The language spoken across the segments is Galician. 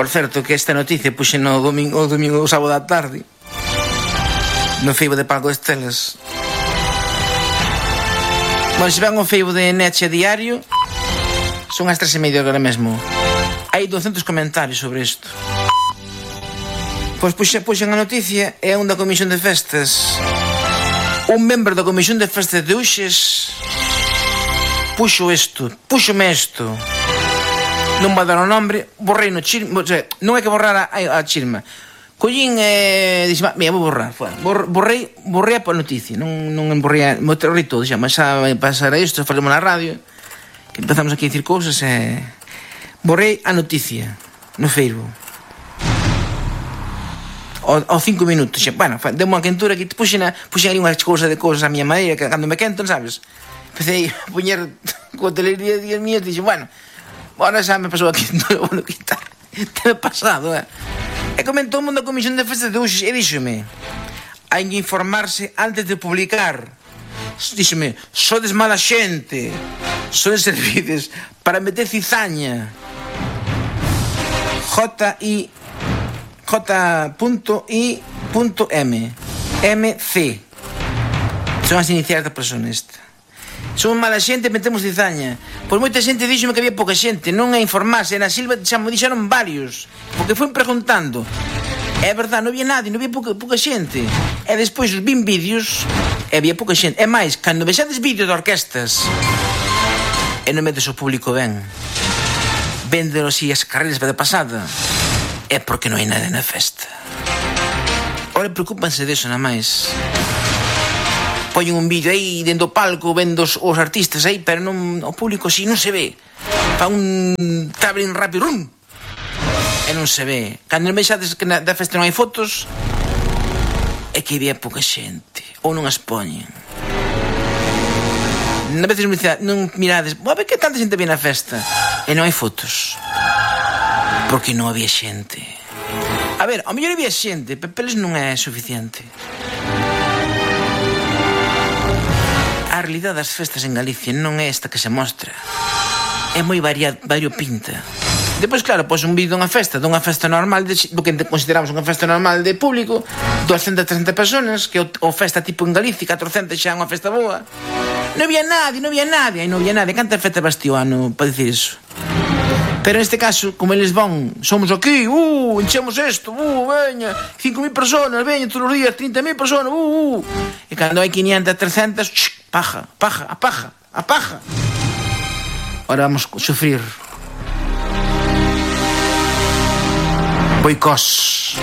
Por certo, que esta noticia puxen o domingo o sábado da tarde no Facebook de Paco Estelas. Bueno, se van ao Facebook de Neche Diario, son as 3:30 agora mesmo. Hai 200 comentarios sobre isto. Pois puxen a noticia, é un da Comisión de Festas. Un membro da Comisión de Festas de Uxes puxome isto. Non vai dar o nombre, borrei no chisma, o sea, non é que borrara a chisma. Collín e dixen, mira, vou borrar, borrei a noticia, non borrei, borrei todo, xa, mas xa vai pasar a isto, falemos na radio, que empezamos aquí a dicir cousas e... Borrei a noticia no Facebook. Ao 5 minutos, xa, bueno, deu unha quentura que puxen ali unhas cousas a miña maneira, que cando me quentan, sabes? Empecé a poñer coa telería de días mías, dixen, bueno, ahora xa me pasou aquí, bueno, que tal, te pasado, E comentou o mundo da Comisión de Festas de Uxes e díxome, hai que informarse antes de publicar. Díxeme, sodes mala xente, sodes servides para meter cizaña. J.I.M.C. Son as iniciais da persona esta. Somos mala xente e metemos cizaña. Pois moita xente díxome que había pouca xente. Non é informarse, na Silva xa me dixeron varios, porque foi preguntando. É verdade, non había nadie, non había pouca xente. E despois vin vídeos e había pouca xente. E máis, cando vexades vídeos de orquestas e non metes o público ben, véndelo así as carreiras de pasada, é porque non hai nada na festa. Ora preocúpanse deso, na máis. Poñen un vídeo aí dentro do palco, vendo os artistas aí, pero non, o público si non se ve. Fa un traveling rápido, rum, e non se ve. Cando vexades que da festa non hai fotos, é que había pouca xente, ou non as poñen. A veces non mirades, a ver que tanta xente había na festa, e non hai fotos, porque non había xente. A ver, ao mellor había xente, pero peles non é suficiente. A realidade das festas en Galicia non é esta que se mostra. É moi variopinta. Depois, claro, pois un vídeo dunha festa normal, do que consideramos unha festa normal de público, 200, 300 personas, que o festa tipo en Galicia, 400 xa é unha festa boa. Non había nadie. Canta festa bastiu ano para dicir iso? Pero neste caso, como eles van, somos aquí, enchemos isto, veña, 5.000 personas, veña, todos os días, 30.000 personas, E cando hai 500, 300, paja. Ahora vamos a sufrir boicós.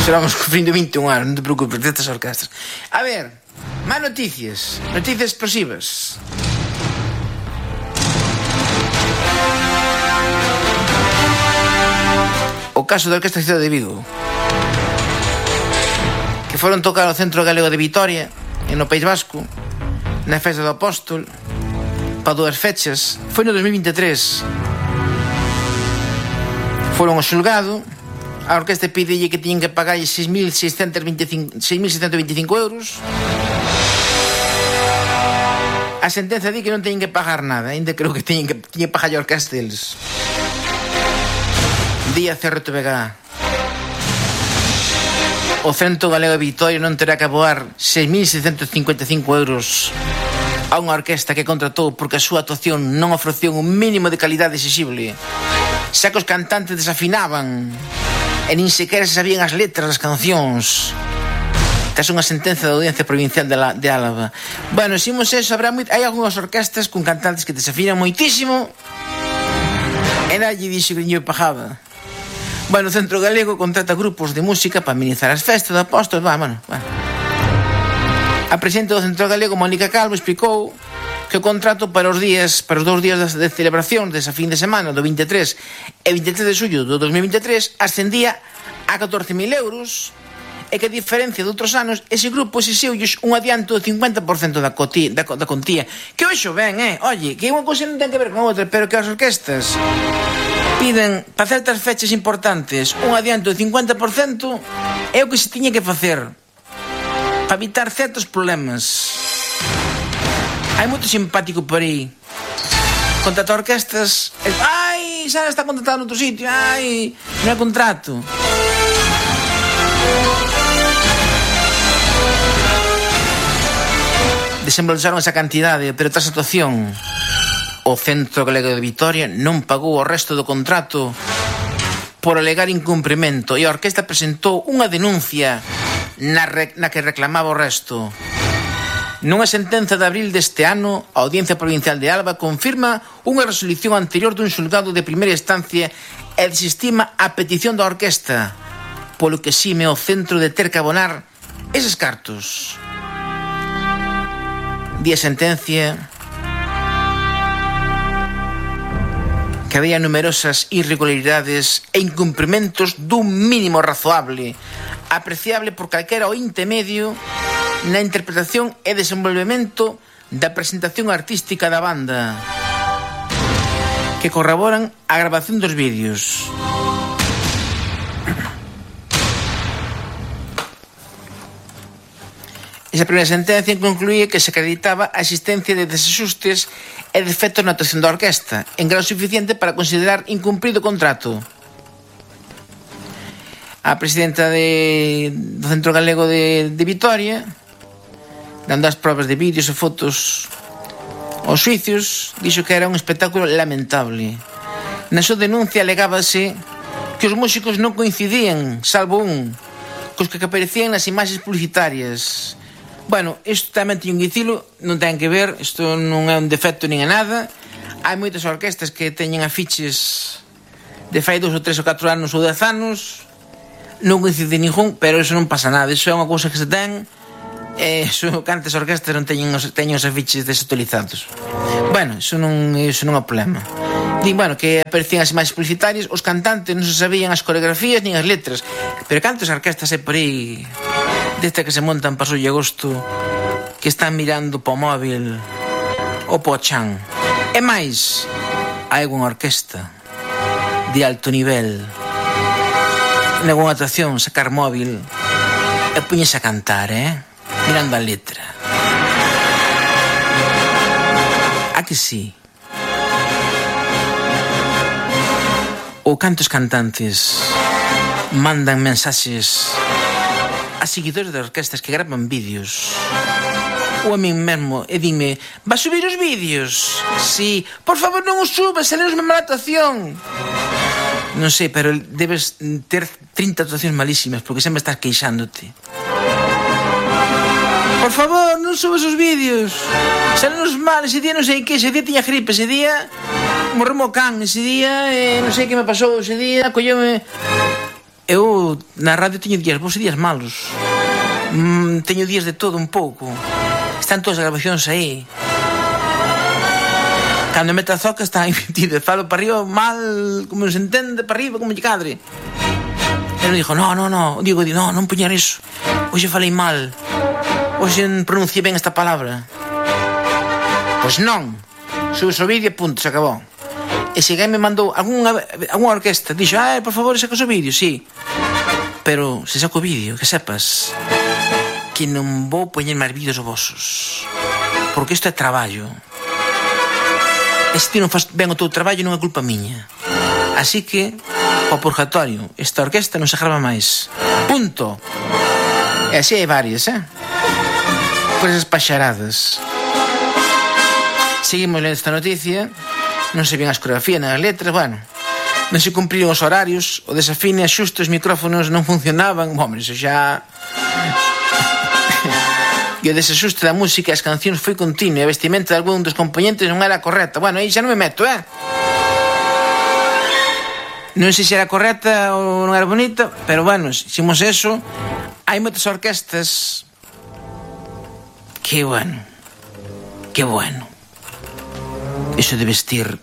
Seramos sufrindo 21 anos, non te preocupes, destas orquestas. A ver, máis noticias explosivas. O caso da Orquesta Cidade de Vigo, que foron tocar ao Centro Galego de Vitoria, no País Vasco, na festa do Apóstol, para 2 fechas. Foi no 2023. Foron ao xulgado, a orquesta pidelle que tiñen que pagar 6.625 euros. A sentenza di que non teñen que pagar nada, ainda creo que teñen que pagar a orquesta deles. Día CRTVG. O Centro Galego de Vitoria non terá que aboar 6.655 euros a unha orquesta que contratou porque a súa actuación non ofreceu un mínimo de calidade exixible, xa que os cantantes desafinaban e nin sequera se sabían as letras das cancións. Tras unha sentenza da Audiencia Provincial de Álava. Bueno, ximos eso, hai algunhas orquestas con cantantes que desafinan moitísimo e nadie dixo que non pagaba. Bueno, o Centro Galego contrata grupos de música para amenizar as festas do Apóstol. Bueno. A presidenta do Centro Galego, Mónica Calvo, explicou que o contrato para os 2 días de celebración desa fin de semana do 23 e 23 de xullo do 2023 ascendía a 14.000 euros e que a diferencia de outros anos ese grupo exixiulles un adianto do 50% da contía. Que hoxo ben, oye, que unha cousa non ten que ver con outra, pero que as orquestas piden para certas fechas importantes un adianto do 50% é o que se tiña que facer para evitar certos problemas. Hai moito simpático por aí contratar orquestas. Ai, Ai, Sara está contratada noutro sitio, ai, non é contrato. Desembolsaron esa cantidade, pero tras a actuación, o Centro Galego de Vitoria non pagou o resto do contrato por alegar incumprimento e a orquesta presentou unha denuncia na que reclamaba o resto. Nunha sentenza de abril deste ano, a Audiencia Provincial de Alba confirma unha resolución anterior dun xulgado de primeira instancia e desestima a petición da orquesta, polo que exime o centro de ter que abonar eses cartos. Di a sentencia que había numerosas irregularidades e incumprimentos dun mínimo razoable, apreciable por calquera ointe medio na interpretación e desenvolvemento da presentación artística da banda, que corroboran a grabación dos vídeos. Esa primeira sentencia concluía que se acreditaba a existencia de desaxustes e defectos na actuación da orquesta, en grado suficiente para considerar incumprido o contrato. A presidenta do Centro Galego de Vitoria, dando as probas de vídeos e fotos aos xuicios, dixo que era un espectáculo lamentable. Na súa denuncia alegábase que os músicos non coincidían, salvo un, cos que aparecían nas imaxes publicitarias. Bueno, isto tamén teño que dicilo, non ten que ver, isto non é un defecto nin é nada. Hai moitas orquestas que teñen afiches de fai 2 ou 3 ou 4 anos ou 10 anos, non coincide ningún, pero iso non pasa nada, iso é unha cousa que se ten, cantas orquestas non teñen os afiches desutilizados. Bueno, iso non é problema. Din, bueno, que aparecían as imaxes publicitarias, os cantantes non se sabían as coreografías nin as letras, pero cantas orquestas hai por aí desta que se montan para o agosto, que están mirando po móvil ou po chan. E máis, hai unha orquesta de alto nivel, nalgúna actuación, sacar móvil e puñese a cantar, mirando a letra. A que sí? Ou cantos cantantes mandan mensaxes a seguidores de orquestas que graban vídeos, ou a min mesmo, e dime: vas subir os vídeos? Sí, por favor non os subas, salimos má mala actuación. Non sei, pero debes ter 30 actuacións malísimas, porque sempre estás queixándote. Por favor, non subas os vídeos, salimos mal, ese día non sei que, ese día tiña gripe, ese día morremo can, ese día non sei que me pasou, ese día colleume. Eu na radio teño días bons e días malos, teño días de todo un pouco, están todas as grabacións aí. Cando mete a zoca está invertido, falo para arriba mal, como se entende, para arriba como lle cadre. E non dixo, no, digo, non puñar iso, hoxe falei mal, hoxe non pronunciei ben esta palabra. Pois non, subes o vídeo e punto, se acabou. E se alguén me mandou algunha orquesta, dixo, por favor, sacas o vídeo, sí. Pero se saco o vídeo, que sepas que non vou poñer máis vídeos vosos, porque isto é traballo. E se ti non faz ben o teu traballo, non é culpa miña. Así que, ao purgatorio, esta orquesta non se grava máis. Punto. E así hai varias, por esas paxaradas. Seguimos lendo esta noticia. Non se ven as coreografías nas letras, bueno, non se cumpriron os horarios, o desafine, xusto os micrófonos non funcionaban, hombre, iso xa... E o desaxuste da música e as cancións foi continuo, e a vestimenta de algún dos componentes non era correcta. Bueno, aí xa non me meto, non sei se era correcta ou non era bonita, pero bueno, ximos eso. Hai moitas orquestas que bueno, iso de vestir.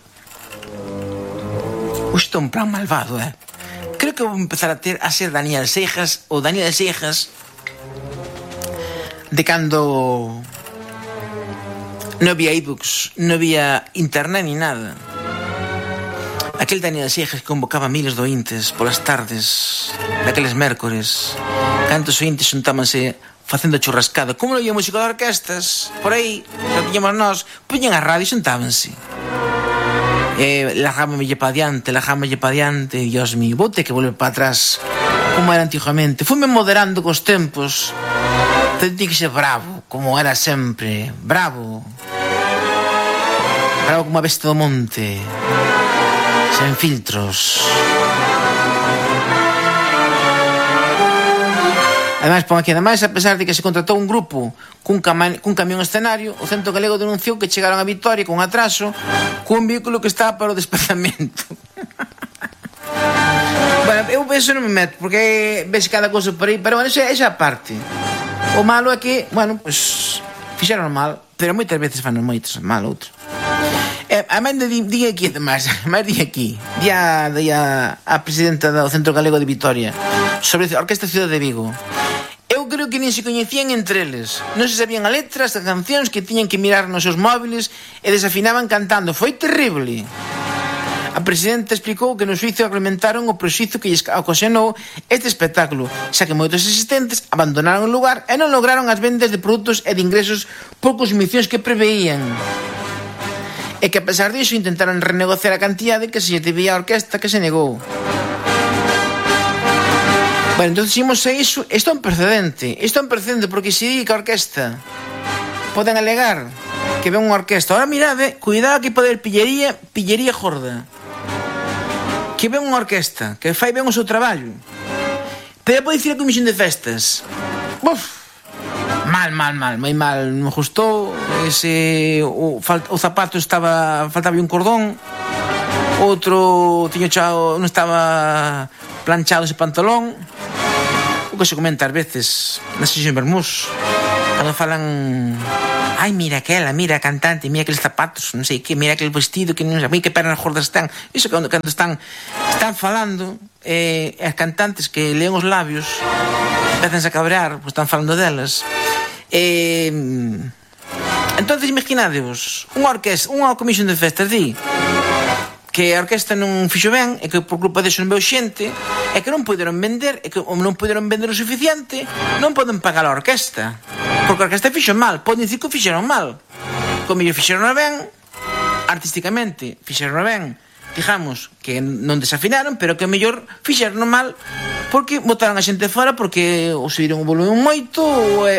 Isto é un plan malvado, Creo que vou empezar a ser Daniel Seijas, ou Daniel Seijas de cando non había ebooks, non había internet ni nada. Aquel Daniel Seijas que convocaba miles de ointes polas tardes daqueles mércores, cantos ointes xuntámanse facendo churrascada, como non había música de orquestas por aí, xa tiñamos nós, puñen a radio e xuntábanse. Lajámoslle para adiante, Dios mío, vou ter que volver para atrás como era antigamente. Fume moderando cos tempos. Ten que ser bravo, como era sempre. Bravo como a bestia do monte, sen filtros. Ademais, pon aquí, ademais, a pesar de que se contratou un grupo cun camión escenario, o Centro Galego denunciou que chegaron a Vitoria con atraso cun vehículo que estaba para o desplazamento. Bueno, eu eso non me meto, porque ves cada cousa por aí, pero bueno, esa parte. O malo é que, bueno, pues fixeron mal, pero moitas veces fan moitos mal outros. A mãe di aquí, además, di a presidenta do Centro Galego de Vitoria sobre a Orquesta Ciudad de Vigo. Eu creo que nin se coñecían entre eles. Non se sabían a letras das cancións, que tiñan que mirar nos seus móviles e desafinaban cantando. Foi terrible. A presidenta explicou que no suizo argumentaron o prexuízo que lles ocasionou este espectáculo, xa que moitos asistentes abandonaron o lugar e non lograron as vendas de produtos e de ingresos por consumicións que preveían. E que a pesar disso intentaron renegociar a cantidade que se lle debía a orquesta, que se negou. Bueno, entón ximos a iso. Isto é un precedente porque se di que a orquesta poden alegar que ven unha orquesta. Ahora mirade, cuidado que pode haber pillería gorda, que ven unha orquesta que fai ben o seu traballo, pero pode dicir a comisión de festas, mal, moi mal, non me gustou ese, o zapato faltaba un cordón, outro non estaba planchado ese pantalón, o que se comenta ás veces nas sesións vermús, cando falan, ai, mira aquela, mira a cantante, mira aqueles zapatos, non sei que, mira aquele vestido, que non sei, que pernas gordas están. Iso cando están falando, as cantantes que leen os labios empezan a cabrear, pois están falando delas. Entonces, imaginadevos, unha comisión de festas di que a orquesta non fixo ben e que por culpa deso non veu xente e que non poderon vender o suficiente, non poden pagar a orquesta porque a orquesta fixo mal. Poden dicir que o fixeron mal, como mellor fixeron ben artísticamente, fixeron ben, digamos que non desafinaron, pero que mellor fixeron mal porque botaron a xente fora porque o subiron o volumen moito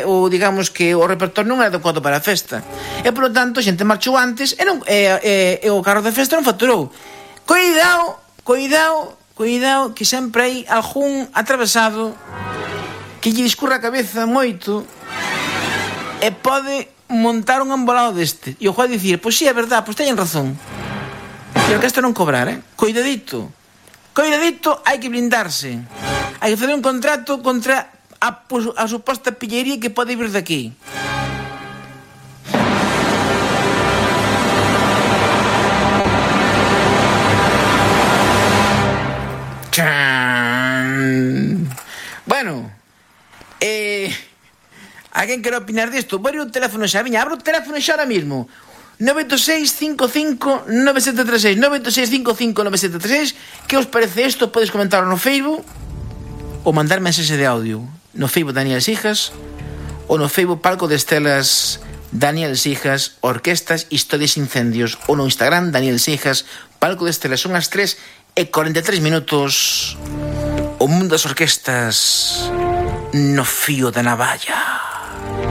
ou digamos que o repertorio non era adecuado para a festa e polo tanto a xente marchou antes e o carro de festa non facturou. Cuidado que sempre hai algún atravesado que lle discurra a cabeza moito e pode montar un embolado deste e o juez dicir, pois si é verdad, pois teñen razón e a orquesta non cobrar, Cuidadito, hai que blindarse, hai que fazer un contrato contra a suposta pillería que pode vir daqui. Bueno, alguén quere opinar disto? Vou o teléfono xa, abro o teléfono xa ahora mismo. 986559736 986559736. Que os parece isto? Podes comentarlo no Facebook ou mandar mensaxe de audio no Facebook Daniel Sijas ou no Facebook Palco de Estelas Daniel Sijas Orquestas Historias Incendios ou no Instagram Daniel Sijas Palco de Estelas. Son as 3:43 minutos. O mundo das orquestas no fío da navalla.